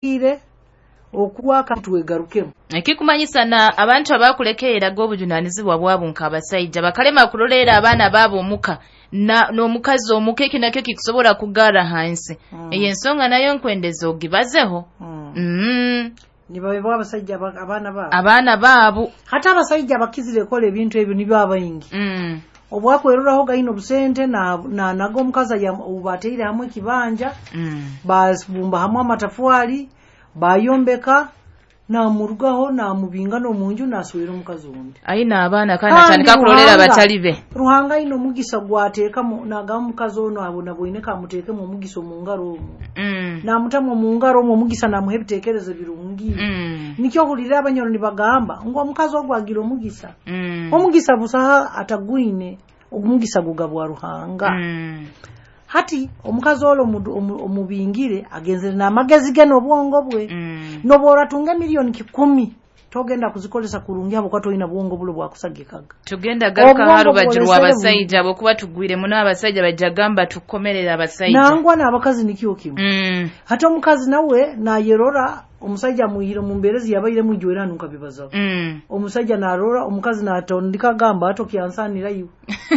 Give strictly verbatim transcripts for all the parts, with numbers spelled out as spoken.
Ire okwaka twegarukemu. Ekikumanyisa na abantu abakulekereraga obujunanizibwa bwabo nk'abasaija bakalema kuroleera abaana baabo omuka na n'omukazi omuka, eki nakyo kikusobola kugarra hansi. Mm. Eyo ensonga nayo nkwendeza ogibazeho. Mm. Mm. Nibabebwa abasajja aba- abaana baabo. Abaana baabo. Hati abasajja bakizire kola ebintu ebyo nibyo abaingi. Mm. Obwakweruraho gaino obusente na na nago omukazi aya- obubateire hamwe ekibanja, Mm. babumba hamwe amatafwali, bayombeka, namurugaho namubinga n'omunju naswera omukazi ondi. Aina abaana kandi Kandi atandika kuroleera Ruhanga- abatali be. Ruhanga aine omugisa gwateekamu nagamba omukazi ono abona bwine kamuteekemu omugisa omu ngaro omwo. Mm. Namutamu omu ngaro omwo omugisa namuha ebiteekerezo birungi. Mm. Nikyo ohurira abanyoro nibagamba ngu omukazi ogwo agira omugisa. Mm. Omugisa busaha atagwine, omugisa gugabwa Ruhanga. Mm. Hati omukazi olwo omu- omu- omubingire agenzere n'amagezi ge n'obwongo bwe. Mm. Noba oratunga emiliyoni kikumi togenda kuzikozesa kurungi habwokuba toyina bwongo bulo bwakusagikaga. Tugenda garuka Obwongo ha rubaju bwolesere rw'abasajja habwokuba tugwire muno abasajja bajja gamba tukomerera abasajja. Nangwa n'abakazi nikyo kimu. Mm. Hati omukazi nawe nayerora omusajja amwihire mu mbeera ezi yabairemu ijwera nkabibazaho. Mm. Omusajja narora omukazi natondika agamba ato kyansanira iwe.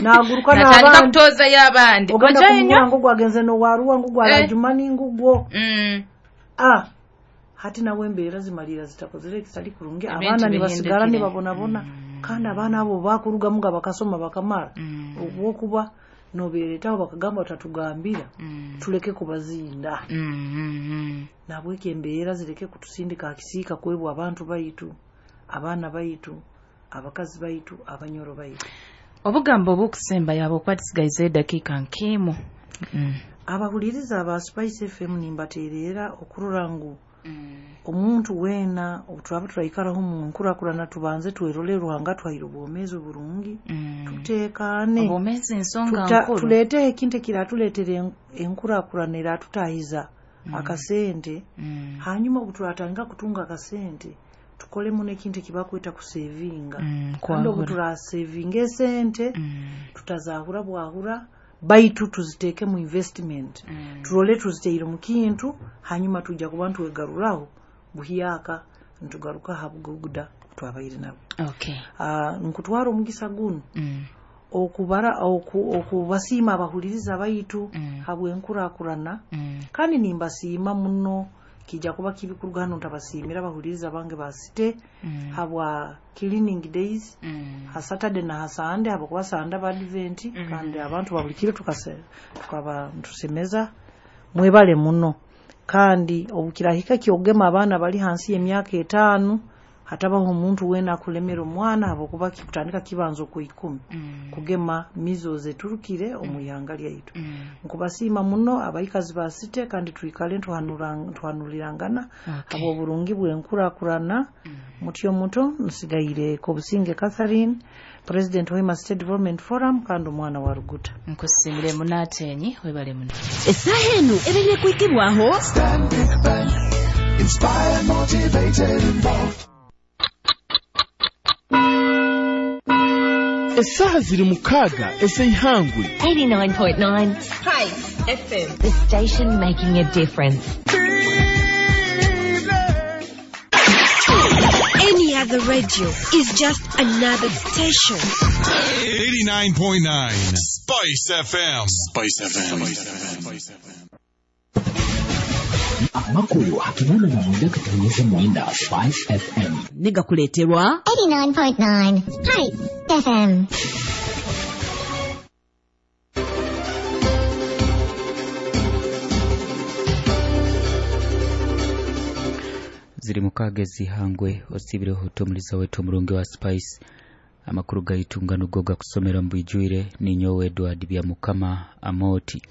Naguruka natandika n'abandi. kutozayo abandi. Ogenda Oja kumugura enyo? ngo gwagenze nowaruwa ngo Eh. gwarajumani ngugwo. Mm. Ah. Hati nawe embeera zimalira zitakozere ekitali kurungi, Ebintu abaana nibasigara bihindukire. nibabonabona. Kandi abaana abo bakurugamu nga bakasoma bakamara. Mm. Obwokuba nobeeretaho bakagamba batatugambira Mm. tuleke kubazinda. Mm, mm, mm. Nabwekyo embeera zireke kutusindika akisiika kwebwa abantu baitu, abaana baitu, abakazi baitu, abanyoro baitu. Obugambo obukusemba yaba okuba tusigaize edakiika nkimu. Mm. Abahuliriza aba Spice F M nimbateerera okurora ngu Mm. omuntu weena obuturaba turaikaraho mu nkurakurana tubanze twerole Ruhanga twaire obwomeezi oburungi. Mm. Tuteekaane. Obwomeezi nsonga Tuta- nkuru. Tuleeteho ekintu ekiratuleetera en- enkurakurana eratutahiza akasente. Mm. Hanyuma obuturatandika kutunga akasente tukolemu n'ekintu ekibakweta kusevinga. Mm, Kandi kwahura. obuturasevinga esente Mm. tutazahura bwahura baitu tuziteeke mu investment. Mm. Turole tuziteire mu kintu hanyuma tujja kuba nitwegaruraho buhyaka nitugaruka aha buguda twabaire nabo. Okay. Ah, nkutwara omugisa guno Mm. okubara oku, okubasiima abahuliriza baitu Mm. habw'enkurakurana. Mm. Kandi nimbasiima muno, kijja kuba kibi kuruga hano ntabasiimira abahuliriza bange basite Mm. habwa cleaning days Mm. ha Saturday na ha Sunday, habwokuba Sunday ba Advent. Mm. Kandi abantu ba buli kiro tukase tukaba ntusemeza, mwebale muno. Kandi obukirahika kyogema abaana bali hansi y'emyaka etaano, hatabaho omuntu weena akulemera omwana habwokuba kikutandika kibanza okwikumi Mm. kugema measles eturukire omu ihanga lyaitu. Mm. Nkubasiima muno abaikazi ba site, kandi twikale ntuhanura- ntuhanulirangana Okay. habw'oburungi bw'enkurakurana. Mm. Mutyo muto nsigaire Kobusinge Catherine, President Hoima State Development Forum, kandi omwana wa Ruguta. Nkusiimire muno Atenyi, webale muno. Essaaha eno ebeire kwikibwaho Stanbic Bank, inspired, motivated, involved. Essaaha ziri mukaaga ez'eihangwe. eighty-nine point nine Spice F M. The station making a difference. Any other radio is just another station. eighty-nine point nine Spice F M. Spice F M. Spice F M. Amakulu akinana na mwenda katonyeza mwenda Spice F M. Negakuleterwa eighty-nine point nine Spice F M. Ziri mukaaga ezihangwe osibireho omuliza wetu omurungi wa Spice. Amakuru gaitu ngano go gakusomera mbwijwire ninyowe Edward Byamukama Amoti.